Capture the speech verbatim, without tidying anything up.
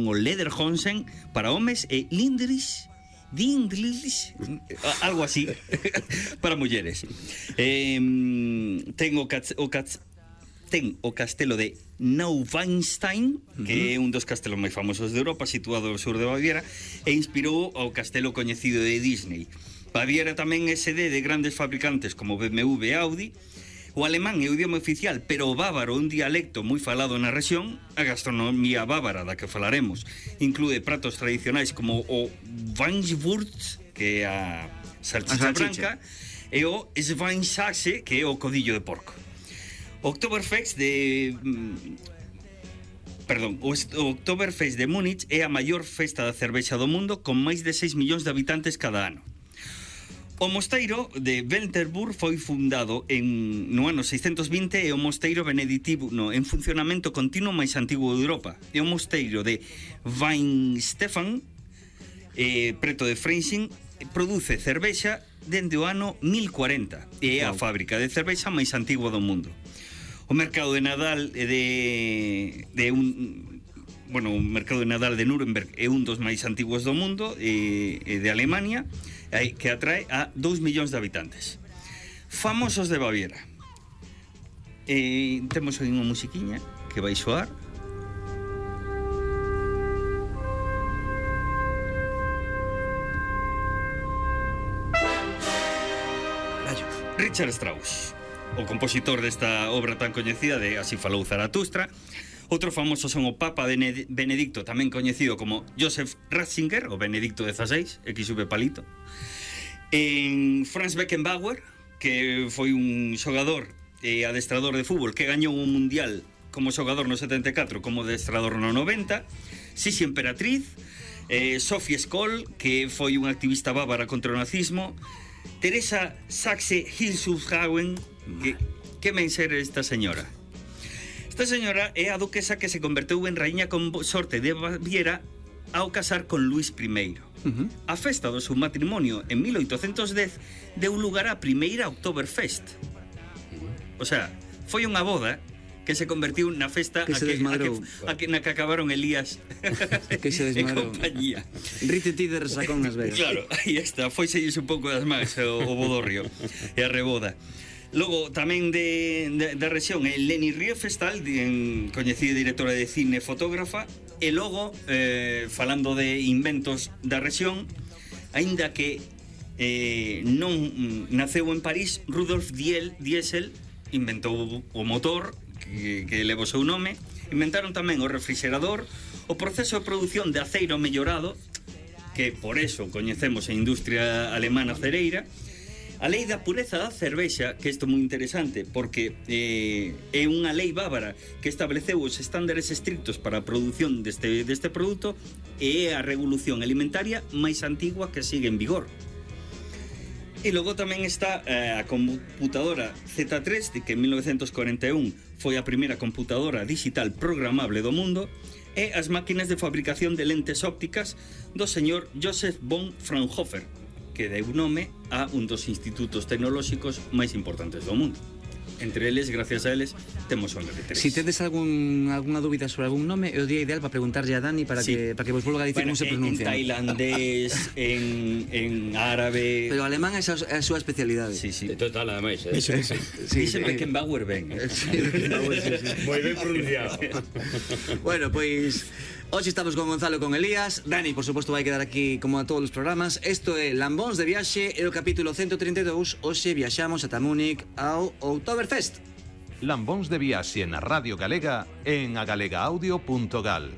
o Lederhosen para homes e Lindris Dindlis, algo así para mulleres. Eh, ten o, o, ten o castelo de Neuschwanstein, que é un dos castelos máis famosos de Europa, situado ao sur de Baviera, e inspirou ao castelo coñecido de Disney. Baviera tamén é sede de grandes fabricantes como B M W e Audi. O alemán é o idioma oficial, pero o bávaro é un dialecto moi falado na rexión. A gastronomía bávara da que falaremos inclúe pratos tradicionais como o Weinswurst, que é a salchicha, a salchicha. branca, e o Schweinshaxe, que é o codillo de porco. O Oktoberfest de... Perdón, o Oktoberfest de Múnich é a maior festa da cervexa do mundo, con máis de seis millóns de habitantes cada ano. O mosteiro de Welterburg foi fundado en, no ano seiscentos vinte e o mosteiro beneditivo no, en funcionamento continuo máis antigo de Europa. E o mosteiro de Weinstefan, eh, preto de Freising, produce cervexa dende o ano mil cuarenta e é a fábrica de cervexa máis antigua do mundo. O mercado de Nadal de, de un... Bueno, o mercado de Nadal de Nuremberg é un dos máis antiguos do mundo, e, e de Alemania, que atrae a dous millóns de habitantes. Famosos de Baviera. Eh, temos aí unha musiquiña que vai soar. Richard Strauss, o compositor desta obra tan coñecida de Así falou Zaratustra. Outro famoso son o Papa Benedicto, tamén coñecido como Joseph Ratzinger, o Benedicto dezasseis, X V palito. En Franz Beckenbauer, que foi un xogador e adestrador de fútbol que gañou un mundial como xogador no setenta e catro, como adestrador no noventa. Sisi Emperatriz, eh, Sophie Scholl, que foi un activista bávara contra o nazismo. Teresa Saxe-Hildesheim, que, que men ser esta señora? Esta señora é a duquesa que se converteu en raíña consorte de Baviera ao casar con Luís primeiro. Uh-huh. A festa do seu matrimonio en mil oitocentos dez deu lugar á primeira Oktoberfest. Uh-huh. O sea, foi unha boda que se convertiu na festa que a, que, a, que, a que na que acabaron Elías que se desmadrou. E compañía. Rite ti de resacón nas Vegas. Claro, aí está, foi selles un pouco das máis o, o bodorrio e a reboda. Logo, tamén de, de, da rexión é Leni Riefenstahl, coñecida directora de cine e fotógrafa. E logo, eh, falando de inventos da rexión, aínda que eh, non naceu en París, Rudolf Diesel inventou o motor que, que leva o seu nome. Inventaron tamén o refrigerador, o proceso de produción de aceiro mellorado, que por eso coñecemos a industria alemana cereira. A lei da pureza da cervexa, que isto é moi interesante, porque eh, é unha lei bávara que estableceu os estándares estrictos para a produción deste, deste produto, e é a revolución alimentaria máis antigua que sigue en vigor. E logo tamén está eh, a computadora Z tres, que en mil novecentos cuarenta e un foi a primeira computadora digital programable do mundo, e as máquinas de fabricación de lentes ópticas do señor Joseph von Fraunhofer, que deu nome a un dos institutos tecnolóxicos máis importantes do mundo. Entre eles, gracias a eles, temos o M P tres. Si tedes algún, alguna dúbida sobre algún nome, é o día ideal para preguntarlle a Dani para, sí. que, para que vos volva a dicir bueno, como se pronuncia. En tailandés, en, en árabe... Pero o alemán é a, a súa especialidade. Sí, sí. De total, ademais. Eh? Sí, sí. Sí, Dice sí, Beckenbauer ben. Eh? Sí, Beckenbauer, sí, sí. Moi ben pronunciado. Bueno, pois... Hoxe estamos con Gonzalo e con Elías. Dani, por suposto, vai quedar aquí como a todos os programas. Isto é Lambóns de Viaxe, é o capítulo ciento treinta e dous. Hoxe viaxamos ata Múnich ao Oktoberfest. Lambóns de Viaxe na Radio Galega en agalega audio punto gal.